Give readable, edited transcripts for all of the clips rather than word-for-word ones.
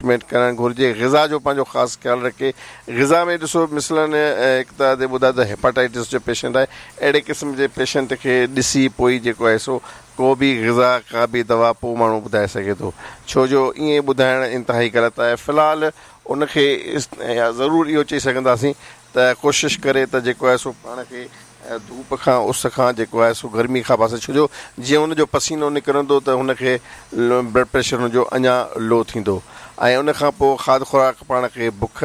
Treatment ڪرڻ گهرجي غذا جو پنهنجو خاص خيال رکي غذا ۾ ڏسو مثلاً هڪ ته ادي ٻڌايو ته هيپاٽائٽس جو پيشنٽ آهي اهڙي قسم جي پيشنٽ کي ڏسي پوء ئي جيڪو آهي سو ڪو به غذا ڪا به دوا پوء ماڻهو ٻڌائي سگهي ٿو ڇو جو ائين ٻڌائڻ انتهائي غلط آهي في الحال ان کي ضرور اهو چئي سگهنداسين ته ڪوشش ڪري ته جيڪو آهي سو پاڻ کي ڌوپ کان اس کان جيڪو آهي سو گرمي کان پاسي ڇو جو جيئن ان جو پسينو نڪرندو ته هن کي بلڊ پريشر هن جو اڃا لو ٿيندو ۽ ان کان پوء کاڌ خوراڪ پاڻ کي بک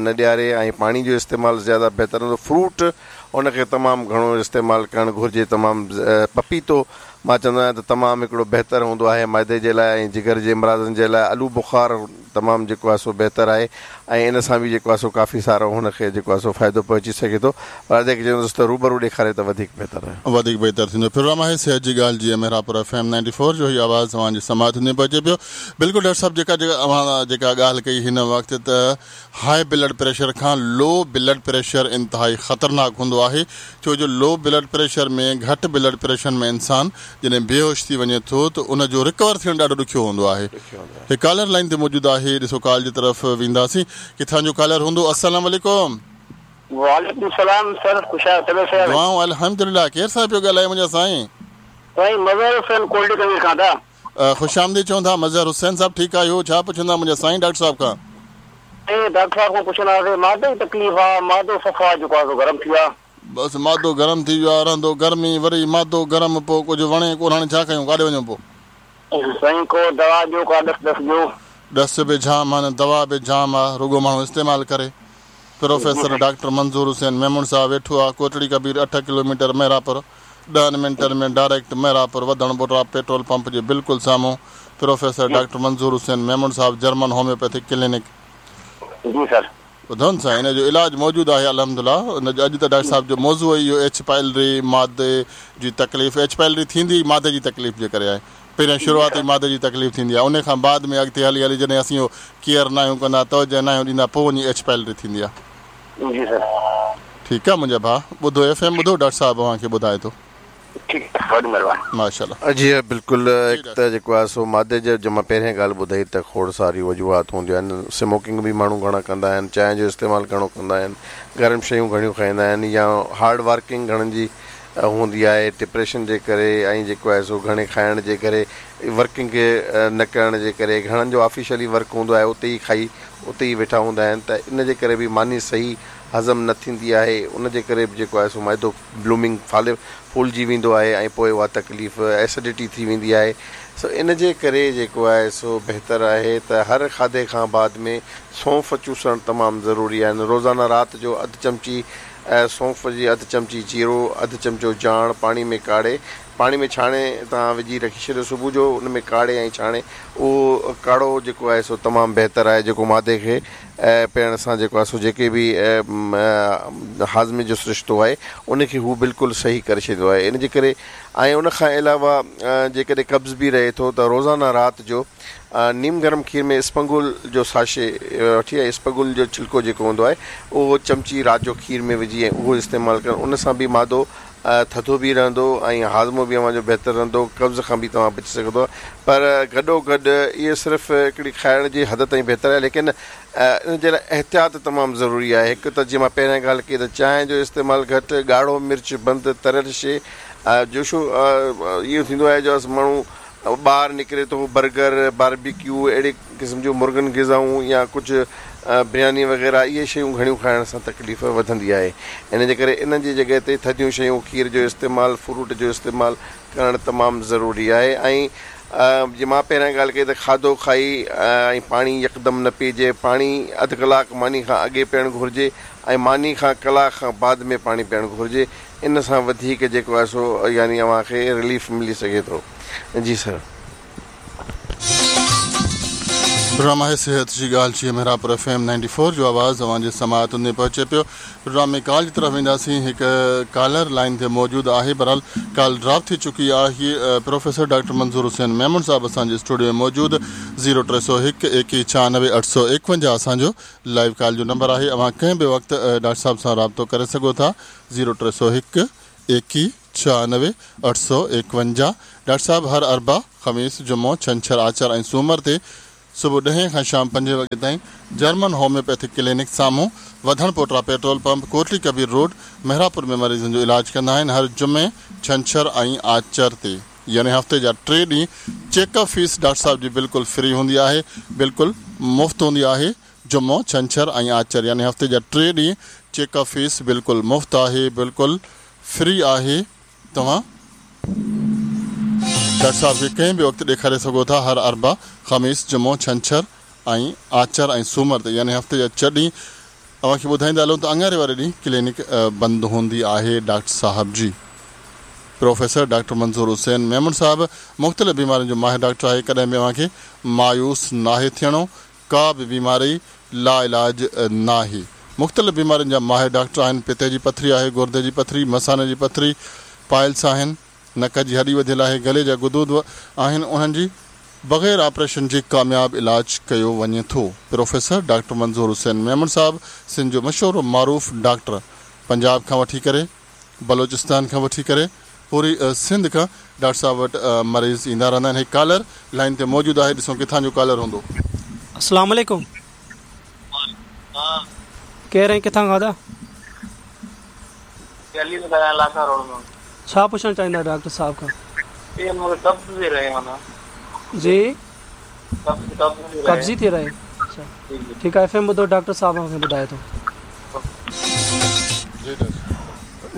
نه ڏياري ۽ پاڻي جو استعمال زياده بهتر هوندو فروٽ ان کي تمام گهڻو استعمال ڪرڻ گهرجي تمام پپيتو مان چوندو آهيان ته تمام هڪڙو بهتر هوندو آهي معدي جي لاء ۽ جگر جي امراضن جي لاء آلو بخار تمام جيڪو آهي سو بهتر آهي ۽ ان سان به جيڪو آهي سو ڪافي سارو هن کي جيڪو آهي سو فائدو پهچي سگهي ٿو پر ادي کي چوندس ته روبرو ڏيکاري ته وڌيڪ بهتر آهي. وڌيڪ بهتر ٿيندو. پروگرام آهي صحت جي ڳالهه جي Mehrabpur F M ninety four جو هي آواز اوهان جي سماعتن تائين پهچي پيو. بلڪل ڊاڪٽر صاحب جيڪا جيڪا اوهان جيڪا ڳالهه ڪئي هن وقت ته هاء بلڊ پريشر کان لو بلڊ پريشر انتهائي خطرناڪ هوندو آهي ڇو جو لو بلڊ پريشر ۾ گهٽ بلڊ پريشر ۾ انسان جڏهن بيهوش ٿي وڃي ٿو ته ان جو رڪور ٿيڻ ڏاڍو ڏکيو هوندو آهي. هڪ ڪالر لائين تي موجود آهي ڏسو ڪال جي طرف وينداسين ڪٿان جو ڪالر هوندو السلام عليڪم. وعليڪم السلام سر خوش آهيو طبيعت صحيح آهي. دعائون الحمدلله ڪير صاحب پيو ڳالهائي منهنجا سائين. سائين مظهر حسين ڪولڊي ڪنگري کان ٿا. خوش آمديد چون ٿا مظهر حسين صاحب ٺيڪ آهيو ڇا پڇندا منهنجا سائين ڊاڪٽر صاحب کان. سائين ڊاڪٽر صاحب کان پڇندا هئاسين معدي جي تڪليف آ معدو صفا جيڪو آ سو گرم ٿي ويو آ. بس معدو گرم ٿي ويو آ رهندو گرمي وري معدو گرم پو ڪجهه وڻي ڪونه هاڻي ڇا ڪيون ڪاڏي وڃون پو. سائين ڪو دوا ڏيو ڪا ڏس ڏس ڏيو. ڏس به جام آهن دوا به جام آ رڳو ماڻهو استعمال ڪري. پروفيسر ڊاڪٽر منظور حسين ميمڻ صاحب ويٺو آ ڪوٽڙي ڪبير اٺ ڪلوميٽر محرابپور ڏهن منٽن ۾ ڊائريڪٽ محرابپور وڌڻ ٻرڙا پيٽرول پمپ جي بلڪل سامهون پروفيسر ڊاڪٽر منظور حسين ميمڻ صاحب جرمن هوميوپيٿڪ ڪلينڪ. جي سر. ٻڌو نه سائين ان جو علاج موجود آهي الحمد لله ان جو اڄ ته ڊاڪٽر صاحب جو موضوع ئي اهو ايڇ پائلري معدي جي تڪليف ايڇ پائلري ٿيندي ئي معدي جي تڪليف جي ڪري آهي پهريان شروعات ئي معدي جي تڪليف ٿيندي آهي ان کان بعد ۾ اڳتي هلي هلي جڏهن اسين اهو ڪيئر ناهيون ڪندا توجه ناهيون ڏيندا پوء وڃي ايڇ پائلري ٿيندي آهي. جي سر. ٺيڪ آهي منهنجا ڀاء ٻڌو ايف ايم ٻڌو ڊاڪٽر صاحب اوهان کي ٻڌائي ٿو. ٺيڪ آهي وڏي مھرباني. ماشاءالله. جي ها بلڪل هڪ ته جيڪو آهي سو معدي جو جو مان پهرين ڳالهه ٻڌائي ته کوڙ ساريون وجوهات هونديون آهن سموڪنگ به ماڻهو گهڻا ڪندا آهن چانهه جو استعمال گهڻو ڪندا آهن گرم شيون گهڻيون کائيندا آهن يا هارڊ ورڪنگ گهڻن جي هوندي آهي ڊپريشن جي ڪري ۽ جيڪو آهي سو گهڻي کائڻ جي ڪري ورڪنگ نه ڪرڻ جي ڪري گهڻن جو آفيشلي ورڪ هوندو آهي اتي ئي کائي اتي ئي ويٺا هوندا آهن ته ان جي ڪري به ماني صحيح هضم نه ٿيندي آهي ان جي ڪري به جيڪو آهي سو معدو بلومنگ ڦالي ڦولجي ويندو آهي ۽ پوء اها تڪليف ايسڊٽي ٿي ويندي آهي سو ان جي ڪري جيڪو آهي سو بهتر آهي ته هر کاڌي کان بعد ۾ سونف چوسڻ تمام ضروري آهن روزانه رات جو اڌ چمچي سونف جي اڌ چمچي جيرو اڌ چمچو جاڻ پاڻي ۾ ڪاڙهي پاڻي ۾ ڇاڻي توهان وجهي رکي ڇڏيو صبح جو ان ۾ ڪاڙهي ۽ ڇاڻي اهو ڪاڙهو جيڪو آهي سو تمام بهتر آهي جيڪو معدي کي پيئڻ سان جيڪو آهي سو جيڪي به هاضمي جو سرشتو آهي ان کي هو بلڪل صحيح ڪري ڇڏيندو آهي ان جي ڪري ۽ ان کان علاوه جيڪڏهن قبض به رهي ٿو ته روزانه رات جو نيم گرم کير ۾ اسپنگول جو ساشي وٺي ۽ اسپغول جو ڇلڪو جيڪو هوندو آهي اهو چمچي رات جو کير ۾ وجهي ۽ اهو استعمال ڪرڻ ان سان به معدو ٿڌو به رهندو ۽ هاضمو به اوهان جو بهتر رهندو، قبض کان به توهان بچي سگهندو پر گڏو گڏ اهي صرف هڪڙي کائڻ جي حد تائين بهتر آهي ليڪن ان جي لاء احتياط تمام ضروري آهي هڪ ته جيئن مان پهريان ڳالهه ڪئي ته چانهه جو استعمال گهٽ، ڳاڙهو مرچ بند، تريل شيء جوشو اهو ٿيندو آهي جو ماڻهو ٻاهر نڪري ٿو برگر، باربيڪيو اهڙي قسم جون مرغن غذائون يا ڪجهه برياني وغيره اهي شيون گهڻيون کائڻ سان تڪليف وڌندي آهي ان جي ڪري انهن جي جڳهه تي ٿڌيون شيون کير جو استعمال فروٽ جو استعمال ڪرڻ تمام ضروري آهي ۽ جيئن مان پهريان ڳالهه ڪئي ته کاڌو کائي ۽ پاڻي يڪدم نه پيئجي پاڻي اڌ ڪلاڪ ماني کان اڳي پيئڻ گهرجي ۽ ماني کان ڪلاڪ کان بعد ۾ پاڻي پيئڻ گهرجي ان سان وڌيڪ جيڪو آهي سو يعني اوهان کي رليف ملي سگهي ٿو جي سر. پروگرام آهي صحت جي ڳالهه جي Mehrabpur F M ninety four جو آواز اوهان جي سماعتن تائين پهچي پيو پروگرام ۾ ڪال جي طرف وينداسين هڪ ڪالر لائين تي موجود آهي بهرحال ڪال ڊراپ ٿي چڪي آهي پروفيسر ڊاڪٽر منظور حسين ميمڻ صاحب اسان جي اسٽوڊيو ۾ موجود زيرو 301 21 96 851 اسان جو لائيو ڪال جو نمبر آهي اوهان ڪنهن به وقت ڊاڪٽر صاحب سان رابطو ڪري سگهو ٿا زيرو 301 21 96 851 ڊاڪٽر صاحب هر اربع، خميس، جمعو، ڇنڇر، آچر ۽ سومر تي صبح ڏهين کان شام پنجين وڳي تائين جرمن هوميوپيٿڪ ڪلينڪ سامهون Wadhan Pota petrol pump Kotli Kabir road Mehrapur ۾ مريضن جو علاج ڪندا آهن هر جمعي، ڇنڇر ۽ آچر تي يعني هفتي جا ٽي ڏينهن چيڪ اپ فيس ڊاڪٽر صاحب جي بلڪل فري هوندي آهي بلڪل مفت هوندي آهي جمعو، ڇنڇر ۽ آچر يعني هفتي جا ٽي ڏينهن چيڪ اپ فيس بلڪل مفت آهي بلڪل فري آهي توهان ڊاڪٽر صاحب کي ڪنهن به وقت ڏيکاري سگهو ٿا هر اربع، خميس، جمعو، ڇنڇر ۽ آچر ۽ سومر تي يعني هفتي جا ڇهه ڏينهن اوهان کي ٻڌائيندا هلون ته اڱاري واري ڏينهن ڪلينڪ بند هوندي آهي ڊاڪٽر صاحب جي پروفيسر ڊاڪٽر منظور حسين ميمڻ صاحب مختلف بيمارين جو ماهر ڊاڪٽر آهي ڪڏهن به اوهان کي مايوس ناهي ٿيڻو ڪا به بيماري لاعلاج ناهي. مختلف بيمارين جا ماهر ڊاڪٽر آهن، پتي جي پٿري آهي، گردي جي پٿري، مثاني جي پٿري، پائلس آهن، نڪ جي هڏي وڌيل آهي، گلي جا غدود آهن انهن جي بغير آپريشن جي ڪامياب علاج ڪيو وڃي ٿو. پروفيسر ڊاڪٽر منظور حسين ميمڻ صاحب سنڌ جو مشهور و معروف ڊاڪٽر پنجاب کان وٺي ڪري بلوچستان کان وٺي ڪري پوري سنڌ کان ڊاڪٽر صاحب وٽ مريض ايندا رهندا آهن هي ڪالر لائين تي موجود آهي ڏسون ڪٿان جو ڪالر هوندو. السلام عليڪم ڪير ۽ ڪٿان کان ادا؟ علي ٿو ڳالهايان لاکا روڊ مان. ڇا پڇڻ چاهيندا ڊاڪٽر صاحب کان؟ اي مون کي قبض ٿي رهي معنيٰ. جي. قبض قبض ٿي رهي. قبضي ٿي رهي اڇا ٺيڪ آهي ايف ايم ٻڌو ڊاڪٽر صاحب اوهان کي ٻڌائي ٿو.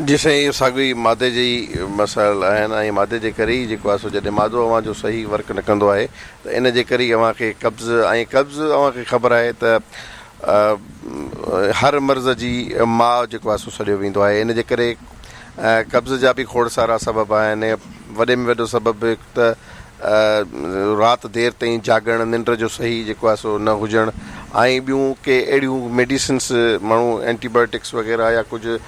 جي سائين اهو ساڳيو ئي معدي جي ئي مسائل آهن ۽ معدي جي ڪري ئي جيڪو آهي سو جڏهن معدو اوهان جو صحيح ورڪ نه ڪندو آهي ته ان جي ڪري ئي اوهان کي قبض ۽ قبض اوهان کي خبر آهي ته هر مرض جي ماء جيڪو آهي سو سڏيو ويندو آهي ان جي ڪري قبض جا به کوڙ سارا سبب آهن وڏي ۾ وڏو سبب هڪ ته رات دير تائين جاڳڻ، ننڊ جو صحيح جيڪو آهي سو نه هجڻ ۽ ٻيون ڪي اهڙيون ميڊيسنس ماڻهو اينٽي بايوٽڪس وغيره يا ڪجهه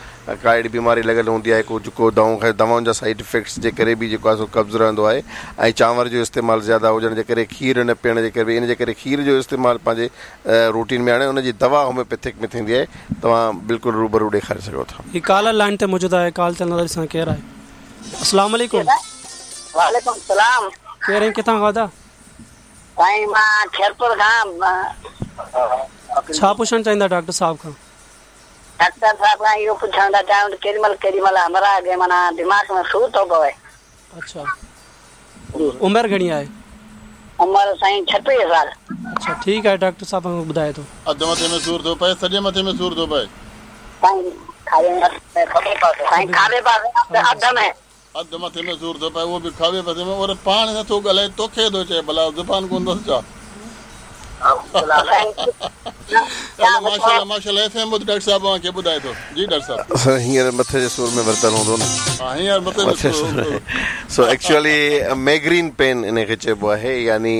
ڪا اهڙي بيماري لڳل هوندي آهي ڪجهه ڪو دوائون دوائن جا سائيڊ افيڪٽس جي ڪري به جيڪو آهي سو قبض رهندو آهي ۽ چانور جو استعمال زياده هجڻ جي ڪري کير نه پيئڻ جي ڪري به ان جي ڪري کير جو استعمال پنهنجي روٽين ۾ آڻي ان جي دوا هوميوپيٿڪ ۾ ٿيندي آهي توهان بلڪل روبرو ڏيکاري سگهو ٿا. هي ڪالر لائين تي موجود آهي ڪال تي هلنداسين ڏسان ڪير آهي. السلام عليڪم. وعليڪم السلام. ڪير ۽ ڪٿان کان ادا؟ سائين مان خيرپور کان. ڇا پڇڻ چاهيندا ڊاڪٽر صاحب کان؟ ڊاڪٽر صاحب کان اهو پڇڻ ٿا چاهيون ته ڪيڏي مهل ڪيڏي مهل همراهه کي معنيٰ دماغ ۾ سور ٿو پوي. اڇا عمر گهڻي آهي؟ عمر سائين 36 سال. اڇا ٺيڪ آهي ڊاڪٽر صاحب اوهان کي ٻڌائي ٿو. اڌ مٿي ۾ سور ٿو پئي سڄي مٿي ۾ سور ٿو پئي. سائين کاٻي پاسي اڌ ۾. اڌ مٿي ۾ سور ٿو پئي اهو به کاٻي پاسي ۾ اور پاڻ نه ٿو ڳالهائي توکي ٿو چئي ڀلا زبان ڪونه اٿس ڇا. هلو ماشاءالله ماشاءالله ايف ايم ٻڌ ڊاڪٽر صاحب اوهان کي ٻڌائي ٿو جي ڊاڪٽر صاحب. سر هينئر مٿي جي سور ۾ ورتل هوندو نه. ها هينئر مٿي ۾ سور هوندو. سو ايڪچوئلي ميگرين پين ان کي چئبو آهي يعني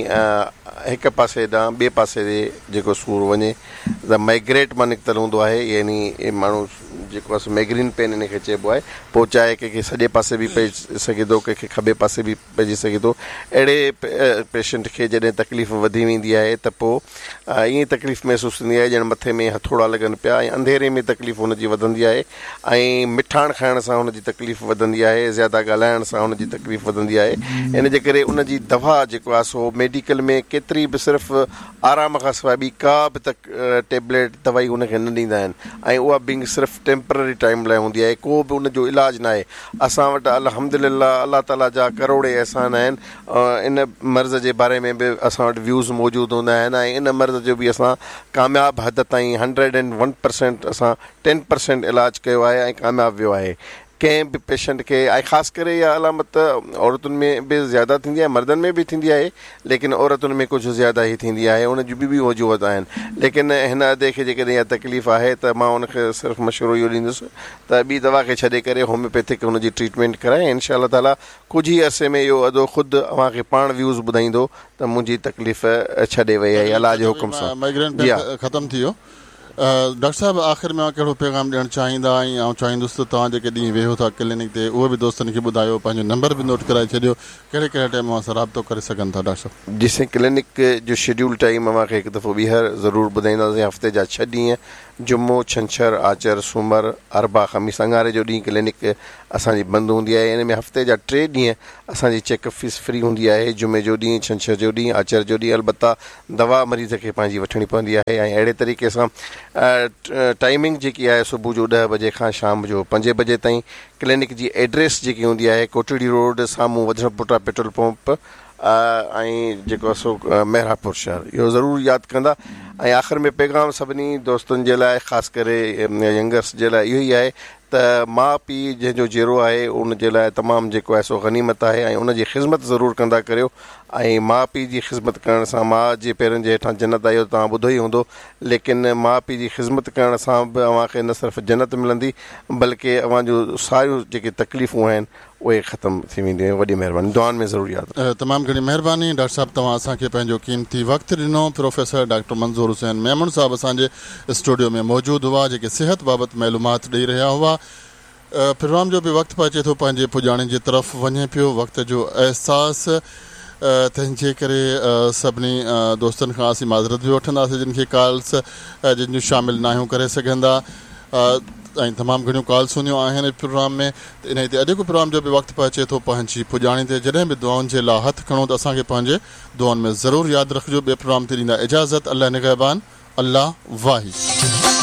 هڪ پاسي ڏانهن ٻئي پاسي جيڪو سور وڃي ته مائگريٽ مان نڪتل هوندو آهي يعني ماڻهو جيڪو آهي سو ميگرين پين ان کي چئبو آهي پوء چاهي ڪنهن کي سڄي پاسي به پئجي سگهي ٿو ڪنهن کي کٻي پاسي به پئجي سگهي ٿو اهڙي پيشنٽ کي جڏهن تڪليف وڌي ويندي آهي ته پوء ائين تڪليف محسوس ٿيندي آهي ڄڻ مٿي ۾ هٿوڙا لڳن پيا ۽ انڌيري ۾ تڪليف هن جي وڌندي آهي ۽ مٺاڻ کائڻ سان هن جي تڪليف وڌندي آهي زياده ڳالهائڻ سان هن جي تڪليف وڌندي آهي ان جي ڪري ان جي دوا جيڪو آهي سو ميڊيڪل ۾ ڪيتري به صرف آرام کان سواء ٻي ڪا به ٽيبليٽ دوائي ان کي نه ڏيندا آهن ۽ اها به صرف ٽيمپرري ٽائيم لاء هوندي آهي ڪو به ان جو علاج ناهي اسان وٽ الحمدلله الله تعالي جا ڪروڙين احسان آهن ان مرض جي باري ۾ به اسان وٽ ويوز موجود هوندا آهن ۽ ان مرض جو به اسان ڪامياب حد تائين هنڊريڊ اينڊ ون پرسينٽ اسان ٽين پرسينٽ علاج ڪيو آهي ۽ ڪامياب ويو آهي ڪنهن به پيشنٽ کي ۽ خاص ڪري اها علامت عورتن ۾ به زياده ٿيندي آهي مردن ۾ به ٿيندي آهي ليڪن عورتن ۾ ڪجهه زياده ئي ٿيندي آهي ان جون ٻيون به وجوهات آهن ليڪن هن ادي کي جيڪڏهن اها تڪليف آهي ته مان ان کي صرف مشورو اهو ڏيندس ته ٻي دوا کي ڇڏي ڪري هوميوپيٿڪ هن جي ٽريٽمينٽ ڪرائي ۽ انشاء الله تعالي ڪجهه ئي عرصي ۾ اهو ادو خود اوهان کي پاڻ ويوز ٻڌائيندو ته منهنجي تڪليف ڇڏي وئي آهي الله جي حڪم سان مائگرين جي ها. ختم ٿي ويو. ڊاڪٽر صاحب آخر ۾ اوهان ڪهڙو پيغام ڏيڻ چاهيندا ۽ آئون چاهيندس ته توهان جيڪي ڏينهن ويهو ٿا ڪلينڪ تي اهو به دوستن کي ٻڌايو پنهنجو نمبر به نوٽ ڪرائي ڇڏيو ڪهڙي ڪهڙي ٽائيم اوهان سان رابطو ڪري سگهن ٿا ڊاڪٽر صاحب. جي سائين ڪلينڪ جو شيڊيول ٽائيم اوهان کي هڪ دفعو ٻيهر ضرور ٻڌائينداسين هفتي جا ڇهه ڏينهن. جمعو، ڇنڇر، آچر، سومر، اربع، خميس، اڱاري جو ڏينهن ڪلينڪ اسان جي بند هوندي آهي. ان ۾ هفتي جا ٽي ڏينهن اسان جي چيڪ اپ فيس فري هوندي آهي، جمعي جو ڏينهن، ڇنڇر جو ڏينهن، آچر جو ڏينهن البته دوا مريض کي پنهنجي وٺڻي پوندي آهي ۽ اهڙي طريقي سان ٽائمنگ جيڪي آهي صبح جو ڏهه بجي کان شام جو پنجين بجي تائين. ڪلينڪ جي ايڊريس جيڪي هوندي آهي ڪوٽڙي روڊ سامهون وڌڻ پٽا پيٽرول پمپ ۽ جيڪو آهي سو محرابپور شهر. اهو ضرور ياد ڪندا ۽ آخر ۾ پيغام سڀني دوستن جي لاء خاص ڪري ينگرس جي لاء اهو ئي آهي ته ماء پيء جنهن جو جيئرو آهي ان جي لاء تمام جيڪو آهي سو غنيمت آهي ۽ ان جي خذمت ضرور ڪندا ڪريو ۽ ماء پيء جي خذمت ڪرڻ سان ماء جي پيرن جي هيٺان جنت آهي اهو توهان ٻڌو ئي هوندو ليڪن ماء پيء جي خذمت ڪرڻ سان به اوهان کي نه صرف جنت ملندي بلڪه اوهان جون ساريون جيڪي تڪليفون آهن اهي ختم ٿي وينديون ۽ وڏي مهرباني دعائن ۾ ضرور ياد رکجو. تمام گهڻي مهرباني ڊاڪٽر صاحب توهان اسان کي پنهنجو قيمتي وقت ڏنو پروفيسر ڊاڪٽر منظور حسين ميمڻ صاحب اسان جي اسٽوڊيو ۾ موجود هئا جيڪي صحت بابت معلومات ڏئي رهيا هئا پروگرام جو به وقت پهچي ٿو پنهنجي پڄاڻي جي طرف وڃي پيو وقت جو احساس تنهن جي ڪري سڀني دوستن کان اسين معذرت به وٺنداسين جن کي ڪالس جن جون شامل ناهيون ڪري سگهندا ۽ تمام گهڻيون ڪالس هونديون آهن پروگرام ۾ ته انهي تي اڄوڪو پروگرام جو به وقت پهچي ٿو پنهنجي پڄاڻي تي جڏهن به دعائن جي لا هٿ کڻو ته اسان کي پنهنجي دعائن ۾ ضرور ياد رکجو ٻئي پروگرام تي ڏيندا اجازت الله نگهبان الله واهي.